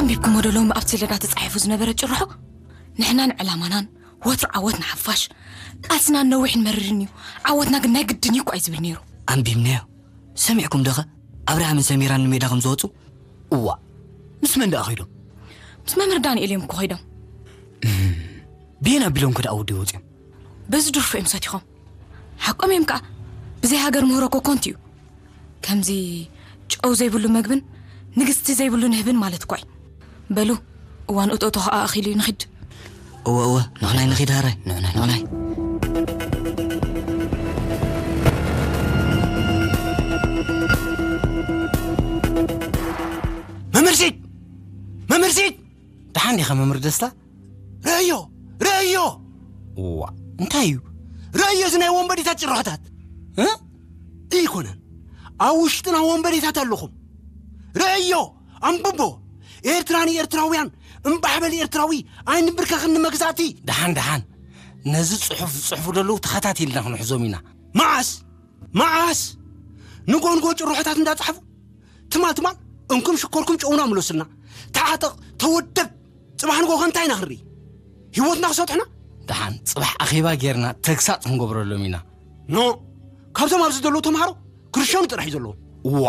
ኣንቢብኩሞ ዶ ሎሚ ኣብቲ ሰሌዳ ተጻሒፉ ዝነበረ ጭርሖ? ንሕናን ዕላማናን ወትሩ ዓወት ንሓፋሽ፣ ቃልስና ነዊሕን መሪርን እዩ፣ ዓወትና ግን ናይ ግድን እዩ እኮ እዩ ዝብል ነይሩ። ኣንቢብናዮ። ሰሚዕኩም ዶኸ ኣብርሃምን ሰሚራን ንሜዳ ከም ዝወፁ? እዋ፣ ምስ መን ደኣ ኸይዶም? ምስ መምህር ዳንኤል እዮም እኮ ኸይዶም። ብየን ኣቢሎም ከ ደኣ ወዲ ወፂኦም? በዚ ድርፎ እዮም ሰቲኾም። ሓቆም እዮም ከዓ። ብዘይ ሃገር ምህሮ እኮ ኮንቱ እዩ። ከምዚ ጨው ዘይብሉ መግብን ንግስቲ ዘይብሉ ንህብን ማለት እኳ እዩ። በሉ፣ እዋን እቶእቶ ከዓ ኣኺሉ እዩ፣ ንኺድ። እወ እወ፣ ንቕናይ ንኺድ ሃራይ፣ ንቕናይ ንቕናይ። መምህር ሲድ! መምህር ሲድ! ደሓን ዲኻ መምህር ደስታ? ርእዮ! ርእዮ! እዋ፣ እንታይ እዩ? ርእዮ እዚ ናይ ወንበዴታት ጭርሖታት! እ? ኣይኮነን። ኣብ ውሽጥና ወንበዴታት ኣለኹም። ርእዮ! ኣንብቦ! ኤርትራ ንኤርትራውያን፣ እምባሕ በል ኤርትራዊ፣ ኣይንብርከኽን ንመግዛእቲ! ደሓን፣ ደሓን። ነዚ ጽሑፍ ዝጽሕፉ ዘለዉ ተኸታቲልና ክንሕዞም ኢና። መዓስ? መዓስ? ንጎ ንጎ ጭርሖታት እንዳጻሕፉ? ትማል ትማል እንኩም ሽኮርኩም ጨውና ምለሱልና። ተዓጠቕ፣ ተወደብ። ጽባሕ ንጎ ከ እንታይ ኢና ክንርኢ? ህይወትና ክሰጥሑና? ደሓን፣ ጽባሕ ኣኼባ ጌርና ተግሳጽ ክንገብረሎም ኢና። ኖ፣ ካብቶም ኣብዚ ዘለዉ ተምሃሮ ክርሸኑ ጥራሕ እዩ ዘለዎም። እዋ፣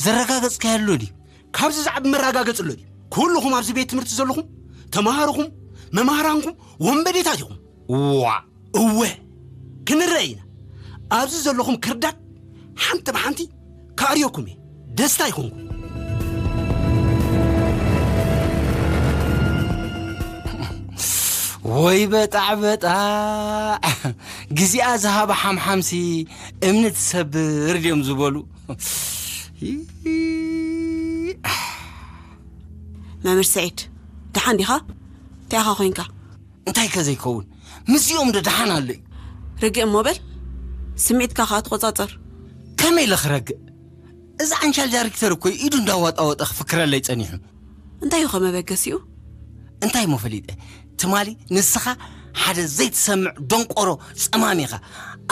ዘረጋገጽካዮ ኣሎ ድዩ? ካብዚ ዝዓቢ መረጋገጺ ኣሎ ድዩ? ኩልኹም ኣብዚ ቤት ትምህርቲ ዘለኹም፣ ተምሃሮኹም፣ መማህራንኩም፣ ወንበዴታት ኢኹም። እዋ፣ እወ፣ ክንረአ ኢና። ኣብዚ ዘለኹም ክርዳድ ሓንቲ ብሓንቲ ክኣርየኩም እየ። ደስታ ይኹንኩም። ወይ በጣዕ በጣዕ፣ ግዜኣ ዝሃባ ሓምሓምሲ እምኒ ትሰብር ድዮም ዝበሉ። መምህር ስዒድ፣ ደሓን ዲኻ? እንታይ ኢኻ ኮይንካ? እንታይ ከ ዘይከውን? ምስዚኦም ዶ ደሓን ኣሎ እዩ? ርግእ እሞ በል፣ ስምዒትካ ኸኣ ተቖጻጸር። ከመይ ኢለ ክረግእ? እዚ ዓንሻል ዳይሬክተር እኮ ኢዱ እንዳዋጣወጠ ክፍክረለይ ጸኒሑ። እንታይ እዩ ኸ መበገሲኡ? እንታይ እሞ ፈሊጠ? ትማሊ ንስኻ ሓደ ዘይትሰምዕ ደንቆሮ ጸማም ኢኻ።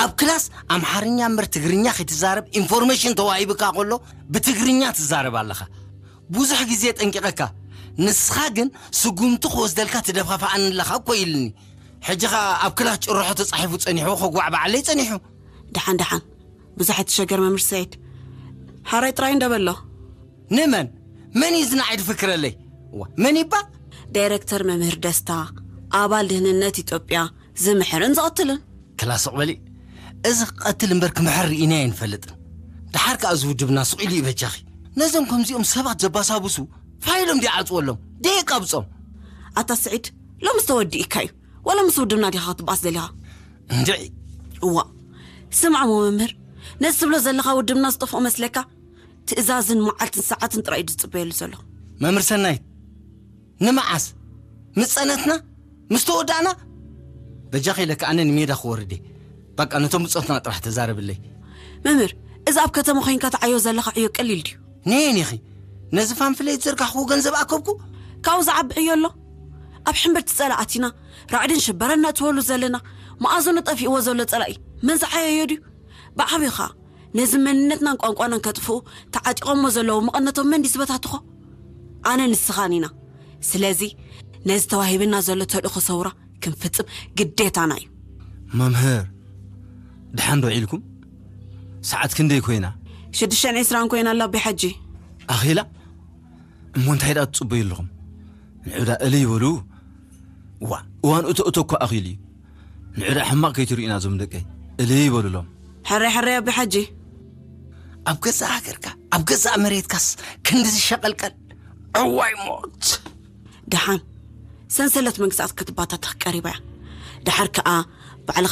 ኣብ ክላስ ኣምሓርኛ እምበር ትግርኛ ከይትዛረብ ኢንፎርሜሽን ተዋሂብካ ከሎ ብትግርኛ ትዛረብ ኣለኻ። ብዙሕ ግዜ ጠንቂቐካ። ንስኻ ግን ስጉምቲ ክወስደልካ ትደፋፍኣኒ ኣለኻ እኮ ኢልኒ። ሕጂ ኸኣ ኣብ ክላስ ጭርሖ ተጻሒፉ ጸኒሑ ከጓዕ በዓለይ ጸኒሑ። ደሓን ደሓን። ብዙሕ ኣይትሸገር መምህር ሰዒድ። ሓራይ ጥራይ እንደ በሎ። ንመን? መን እዩ እዚ ንዓይ ድፍክረለይ? ዋ፣ መን ይባል? ዳይረክተር መምህር ደስታ፣ ኣባል ድህንነት ኢትዮጵያ፣ ዝምሕርን ዝቐትልን። ክላ ስቕ በሊ። እዚ ክቐትል እምበር ክምሕር ርኢናዮ ኣይንፈልጥን። ደሓር ከኣ እዚ ውድብና ስቕ ኢሉ እዩ በጃኺ። ነዞም ከምዚኦም ሰባት ዘባሳብሱ ፋይሎም ድዩ ዓጽወሎም? ደየቃብጾም? ኣታ ስዒድ፣ ሎምስ ተወዲእካ እዩ። ዋላ ምስ ውድብና ዲኻ ክትበኣስ ደሊኻ? እንድዒ። እዋ፣ ስምዓሞ መምህር፣ ነዚ ትብሎ ዘለኻ ውድብና ዝጠፍኦ መስለካ? ትእዛዝን መዓልትን ሰዓትን ጥራይ እዩ ዝጽበየሉ ዘሎ። መምህር ሰናይት፣ ንመዓስ? ምስ ጸነትና? ምስ ተወዳእና? በጃኺ ኢለኪ ኣነ ንሜዳ ክወርድ እየ። በቃ ነቶም ብጾትና ጥራሕ ተዛረብለይ። መምህር፣ እዚ ኣብ ከተማ ኮይንካ ትዓዮ ዘለኻ ዕዮ ቀሊል ድዩ? ነየን ኢኺ? ነዚ ፓምፍሌት ዘርጋሕኩዎ ገንዘብ ኣከብኩ? ካብኡ ዝዓቢ ዕዮ ኣሎ? ኣብ ሕምብርቲ ጸላእ ኣቲና፣ ራዕድን ሽበራን ነእትወሉ ዘለና፣ መኣዝኑ ጠፊእዎ ዘሎ ጸላኢ መን ዝዓየዮ ድዩ? ብዓብዩ ኸኣ፣ ነዚ መንነትናን ቋንቋናን ከጥፍኡ ተዓጢቖሞ ዘለዉ መቐነቶም መን ድዩ ዝበታትኾ? ኣነን ንስኻን ኢና። ስለዚ፣ ነዚ ተዋሂብና ዘሎ ተልእኾ ሰውራ ክንፍጽም ግዴታና እዩ። መምህር፣ ደሓን ዶ ዒልኩም? ሰዓት ክንደይ ኮይና? ሽዱሽተን ዕስራን ኮይና ኣላ ኣቢ ሓጂ። ኣኺላ? እሞ እንታይ ደኣ ትጽበዩ ኣለኹም? ንዑ ደኣ እልይ በሉ። ዋ፣ እዋን እቶ እቶ እኮ ኣኺሉ እዩ። ንዑ ደኣ ሕማቕ ከይትርእዩና እዞም ደቀይ። እልይ በሉሎም። ሕራይ ሕራይ ኣቢ ሓጂ። ኣብ ገዛእ ሃገርካ፣ ኣብ ገዛእ መሬትካስ ክንድዚ ሸቐልቀል? እዋይ ሞት! ደሓን ሰንሰለት መግዛእቲ ክትባታተኽ ቀሪባ እያ። ደሓር ከኣ